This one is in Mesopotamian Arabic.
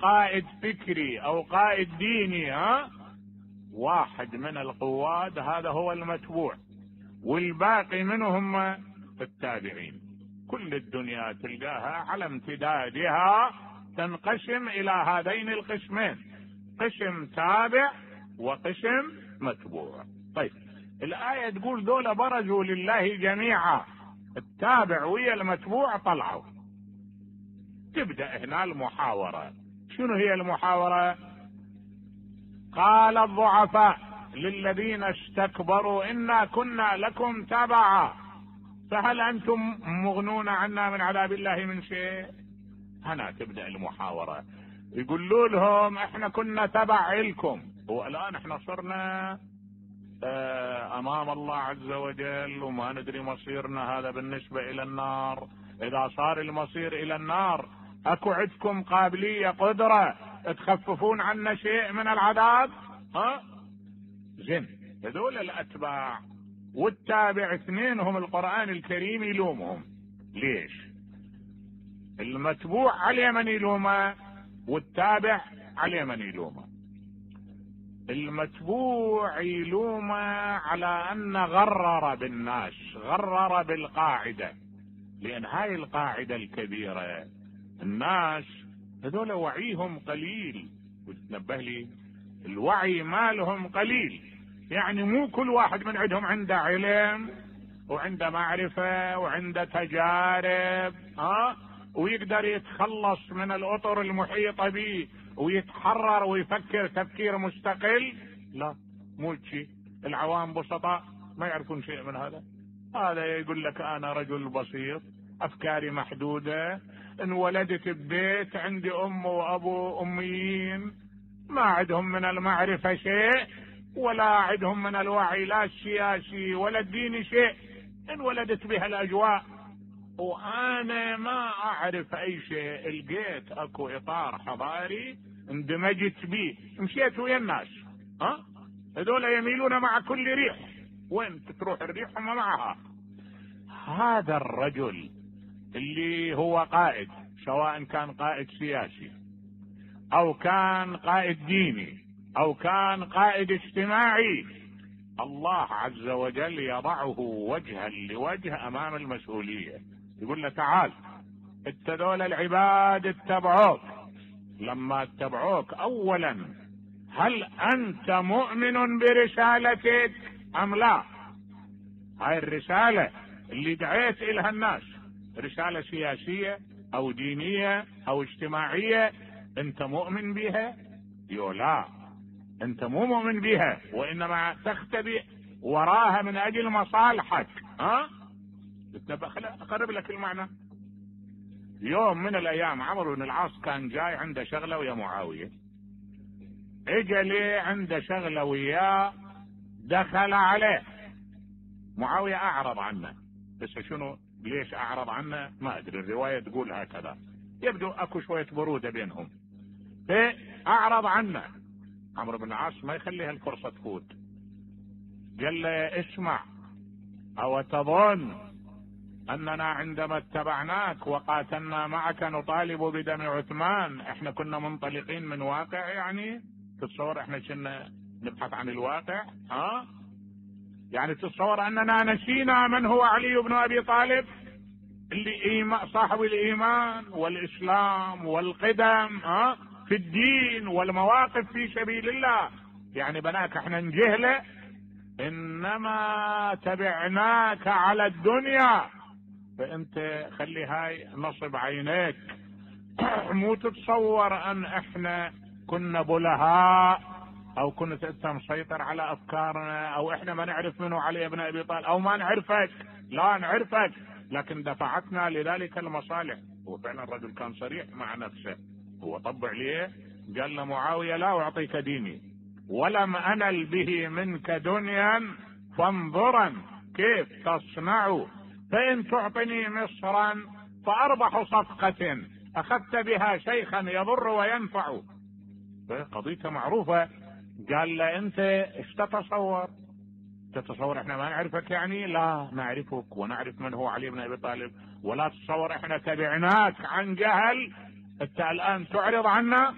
قائد فكري او قائد ديني، واحد من القواد هذا هو المتبوع، والباقي منهم التابعين. كل الدنيا تلقاها على امتدادها تنقسم الى هذين القسمين، قسم تابع وقسم متبوع. طيب الآية تقول دول برزوا لله جميعا، التابع ويا المتبوع طلعوا. تبدأ هنا المحاورة. شنو هي المحاورة؟ قال الضعفاء للذين استكبروا إنا كنا لكم تبعا فهل أنتم مغنون عنا من عذاب الله من شيء؟ هنا تبدأ المحاورة. يقولوا لهم احنا كنا تبع لكم، والآن احنا صرنا امام الله عز وجل وما ندري مصيرنا، هذا بالنسبة الى النار. اذا صار المصير الى النار اكو عندكم قابلية قدرة تخففون عنا شيء من العذاب؟ زين. هذول الاتباع والتابع اثنينهم القرآن الكريم يلومهم. ليش؟ المتبوع عليه من يلومه والتابع عليه من يلومه. المتبوع يلومه على ان غرر بالناس، غرر بالقاعدة، لان هاي القاعدة الكبيرة الناس هذول وعيهم قليل، وتنبه لي الوعي مالهم قليل، يعني مو كل واحد من عندهم عنده علم وعنده معرفة وعنده تجارب ويقدر يتخلص من الأطر المحيطة به ويتحرر ويفكر تفكير مستقل. لا، مو شيء. العوام بسطاء ما يعرفون شيء من هذا. هذا يقول لك انا رجل بسيط، افكاري محدودة، انولدت ببيت عندي ام وابو اميين، ما عندهم من المعرفة شيء ولا عندهم من الوعي لا السياسي ولا الديني شيء، انولدت بها الاجواء وانا ما اعرف اي شيء. لقيت اكو اطار حضاري اندمجت به، مشيت ويا الناس. هذول يميلون مع كل ريح، وين تروح الريح هم معها. هذا الرجل اللي هو قائد، سواء كان قائد سياسي او كان قائد ديني او كان قائد اجتماعي، الله عز وجل يضعه وجها لوجه امام المسؤولية. يقول له تعال انت ذول العباد اتبعوك، لما اتبعوك اولا هل انت مؤمن برسالتك ام لا؟ هاي الرسالة اللي دعيت الها الناس، رسالة سياسية او دينية او اجتماعية، انت مؤمن بها؟ يو لا، انت مو مؤمن بها، وانما تختبئ وراها من اجل مصالحك. اقرب لك المعنى. يوم من الايام عمرو بن العاص كان جاي عنده شغلة ويا معاوية، اجى لي عنده شغلة وياه، دخل عليه معاوية اعرض عنه. بس شنو ليش اعرض عنه ما ادري، الرواية تقول هكذا، يبدو اكو شوية برودة بينهم، فاعرض عنه. عمرو بن العاص ما يخليها الفرصة تفوت، قال له اسمع، او تظن اننا عندما اتبعناك وقاتلنا معك نطالب بدم عثمان احنا كنا منطلقين من واقع؟ يعني تتصور احنا كنا نبحث عن الواقع؟ يعني تتصور اننا نسينا من هو علي بن ابي طالب اللي صاحب الايمان والاسلام والقدم في الدين والمواقف في سبيل الله؟ يعني بناك احنا نجهله؟ انما تبعناك على الدنيا، فانت خلي هاي نصب عينيك. مو تتصور ان احنا كنا بلهاء او كنت انت مسيطر على افكارنا او احنا ما نعرف منه علي بن ابي طالب او ما نعرفك، لا نعرفك، لكن دفعتنا لذلك المصالح. هو فعلا الرجل كان صريح مع نفسه، هو طبع ليه قال له معاوية لا اعطيك ديني ولم انل به منك دنيا فانظرا كيف تصنع، فان تعطني مصرا فاربح صفقة اخذت بها شيخا يضر وينفع. قضيته معروفة. قال له انت ايش تتصور احنا ما نعرفك؟ يعني لا نعرفك ونعرف من هو علي بن ابي طالب، ولا تتصور احنا تبعناك عن جهل، انت الان تعرض عنا.